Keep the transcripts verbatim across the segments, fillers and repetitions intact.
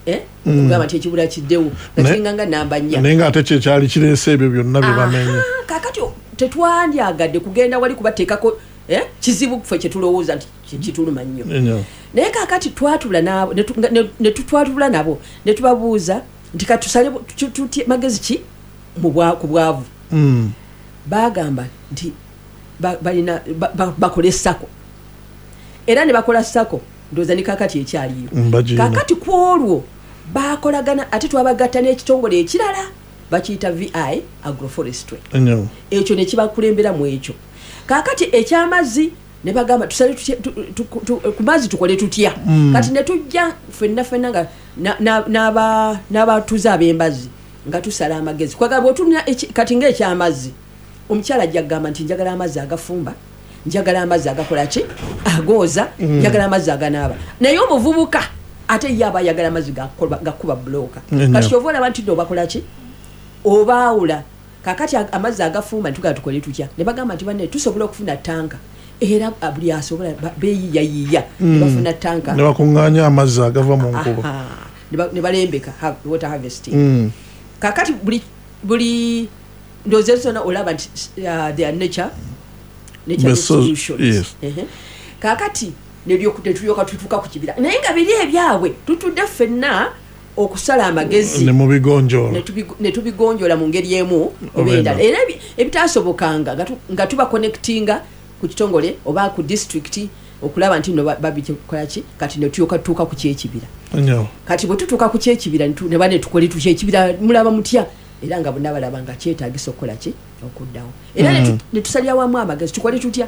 Eh? Okugamba nti ekibira kiddewo nga Ne- kiringa nga namba nnya. Naye nga ate kyekyali kireese ebyo byonna bye bamenye. Aha, kakati tetwandyagadde kugenda wali kubateekako eh, kizibu ffe kyetulowooza nti ki- kituluma nnyo. Ennyo. Naye kakati twatula nabo, ne tu- ne- ne tutwatula nabo ne tubabuuza nti katusale bu- tu- tutye magezi ki mu bwa- ku bwavu. Mm. Bagamba nti ba- balina ba- ba- bakole SACCO, era ne bakola SACCO. Ndowooza ne kakati ekyaliyo. Mm, bagirina. Kakati ku olwo bakolagana, ate twabagatta n'ekitongole ekirala bakiyita V I Agroforestry. Ennyo. Ekyo ne kibakulembera mu ekyo. Kakati ekyamazzi ne bagamba tusale tutya- tu- tu- tu- ku mazzi tukole tutya? Mm. Kati ne tujja ffenna ffenna nga na- na- n'aba- n'abatuuze ab'embazzi nga tusala amagezi. Kwagala bw'otunula eki- kati ng'ekyamazzi, omukyala ajja kugamba nti njagala amazzi agafumba, njagala amazzi agakola ki, agooza, Mm. njagala amazzi aganaaba. Naye omuvubuka ate ye aba ayagala amazzi gakuba- gakuba bulooka. Ennyo. Kati kyova olaba nti nno obakola ki, obaawula. Kakati ag- amazzi agafumba ntugala tukole tutya? Ne bagamba nti banne tusobola okufuna tanka, era ah, buli asobola ba- beeyiyayiya ne bafuna tanka. Ne bakuŋŋaanya amazzi agava mu nkuba. Aha, ne ba- ne balembeka ha- water harvesting. Mm. Kakati buli buli ndowooza zonna olaba nti uh, they are nature nature The so- solutions. yes. Ehe. Kakati neryo- netulyoka tutuuka ku kibira, naye nga biri ebyabwe tutudde ffenna okusala amagezi ne mubigonjoola. ne tubigo- ne tubigonjoola mu ngeri emu oba oba endala. endala. Era ebi- ebitasobokanga nga tu- nga tuba connectinga ku kitongole oba ku district okulaba nti no babikola ki. Kati netulyoka tutuuka ku kyekibira. Ennyo. Kati bwe tutuuka ku kyekibira ne tu- ne bane tukole tutya ekibira, mulaba mutya? Era nga bonna balaba nga kyetagisa okukola ki, okuddawo. Era ne tu- Mm. ne tusalira wamu amagezi, tukole tutya?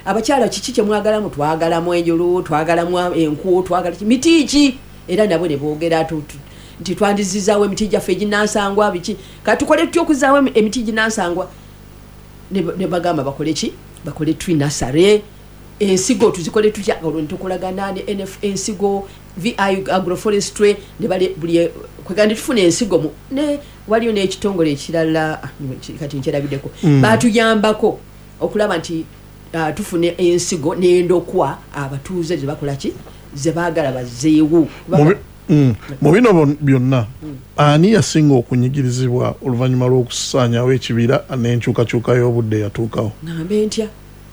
Abakyala kiki kyemwagalamu? Twagalamu enjulu, twagalamu enku, twagala ki, miti ki? Era nabo ne boogera tu- tu- nti twandizizaawo emiti gyaffe eginansangwa biki. Kati tukole tutya okuzaawo emi- emiti ginansangwa? Ne ne bagamba bakole ki, bakole tree nursery. Ensigo tuzikole tutya? Olwo netukolagana ne N F ensigo, V I Agroforestry, ne bale buli kwegamba ne tufuna ensigo mu ne waliyo n'ekitongole ekirala, ah, kati nkyerabiddeko, Mm. batuyambako okulaba nti ah, tufuna ensigo n'endokwa abatuuze ze bakola ki, ze baagala bazzeewo. Mu bi- mm. mu bino bon- byonna ani yasinga okunyigirizibwa oluvannyuma lw'okusaanyawo ekibira n'enkyukakyuka y'obudde eyatuukawo? Ngambe ntya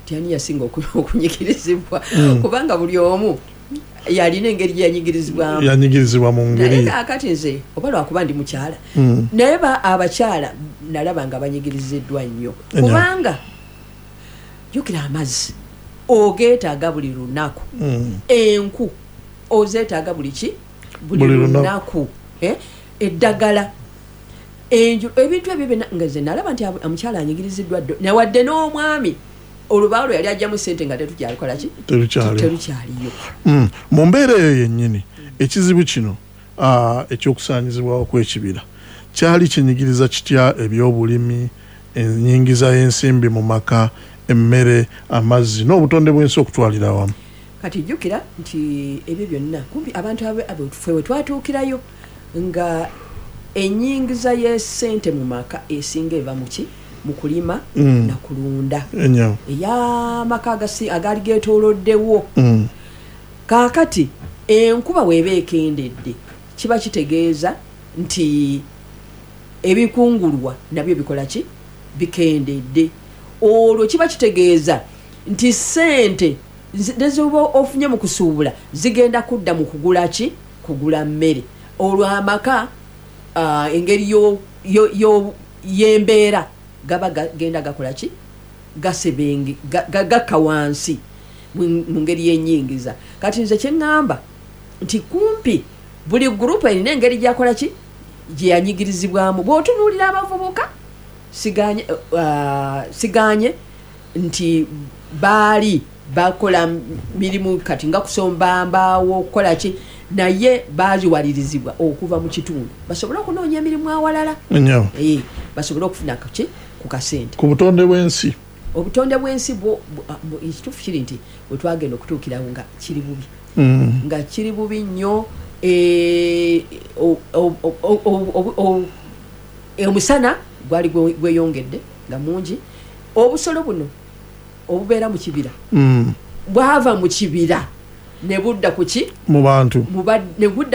ti ani yasinga oku- okunyigirizibwa? Mm. Kubanga buli omu yalina engeri gye yanyigirizibwamu. Yanyigirizibwa mu Naye ngeri kaakati nze oba lwakuba ndi mukyala, Mm. naye ba abakyala nalaba nga banyigiriziddwa nnyo. Ennyo. Kubanga jjukira amazzi ogeetaaga buli lunaku, Mm. enku ozeetaaga buli ki, buli Buli lunaku. lunaku, Eh, eddagala, enju, ebintu ebyo byonna. Nga nze nalaba nti ab- omukyala anyigiriziddwa ddo, newadde n'omwami olubaawo lwe yali ajjamu sente nga tetukyalikola ki, Terukyaliwo. Terukyaliyo. Mm. mu mbeera eyo yennyini, ekizibu kino ah, ekyokusaanyizibwawo kw'ekibira kyali kinyigiriza kitya ebyobulimi, enyingiza y'ensimbi mu maka, emmere, amazzi n'obutonde bw'ensi okutwalira awamu? Kati jjukira nti ebyo byonna kumpi abantu abe- abo ffe we twatuukirayo nga enyingiza y'essente mu maka esinga eva mu ki, mu kulima Mm. na kulunda Ennyo. ey'amaka agasi- agaali geetooloddewo. Mm. Kaakati enkuba weeba ekendedde, kiba kitegeeza nti ebikungulwa nabyo bikola ki, bikendedde. Olwo kiba kitegeeza nti sente zi- nezoba ofunye mu kusuubula zigenda kudda mu kugula ki, kugula mmere. Olwo amaka ah, engeri yo- yo- yo- y'embeera gaba gagenda gakola ki, gasebenge ga- ga- gakka wansi mu mu ngeri y'enyingiza. Kati nze kyeŋŋamba nti kumpi buli gurupu erina engeri gyakola ki, gye yanyigirizibwamu. Bw'otunuulira abavubuka, siganye uh, siganye nti baali bakola mirimu kati nga kusomba mbaawo, okukola ki, naye baziwalirizibwa okuva mu kitundu basobole okunoonya emirimu awalala. Ennyo. Eh, basobole okufuna ki, ku kasente. Ku butonde bw'ensi? Obutonde bw'ensi bwo bu- ah, bu- ekituufu kiri nti bwe twagenda okutuukirawo nga kiri bubi, Mm. nga kiri bubi nnyo. eh, o- o- o- o- o- o- omusana gwali gwe- gweyongedde nga mungi. Obusolo buno obubeera mu kibira Mm. bwava mu kibira ne budda ku ki, Mu bantu. mu ba- ne budda.